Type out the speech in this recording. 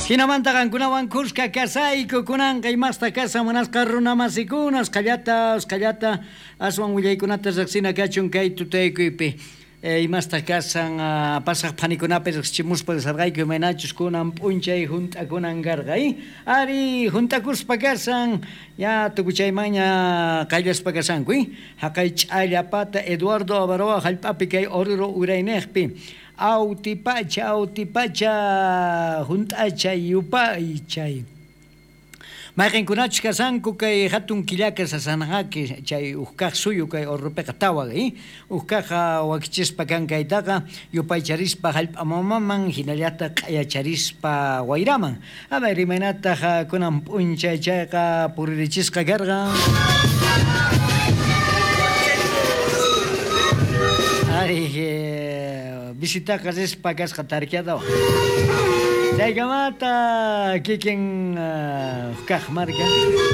Jinamanta qankunawan khuska kasayku kunanqa imasta kasan munasqa runamasikuna usqhallata usqhallata aswan willaykunata riqsina kachun kay tutaykuypi. Imastaq kasan pasaq phanikunapi riqsichimuspa risarqayku imaynachus kunan p'unchay junt'akunan karqa ari junt'akuspa kasan ya tukuchaymanña qayllaspa kasanku jaqay ch'allapata Eduardo Avaroa jallp'api kay Oruro urayniqpi Autipacha autipacha junt'achay yupaychay Mayqenkunachus kashanku kay jatun killaka sasanaqaki chay uj kaj suyu kay Orropiqa tawa uj kaj wakichispa kan kaytaqa yupaycharispa jallp'a mamaman jinallataj q'ayacharispa wayraman. A ver imaynataj kunan p'unchay chayqa puririchisqa karqa. Ari visitaqa rispa kasqa tarkiadawan. Chaykamata kikin kaq marka.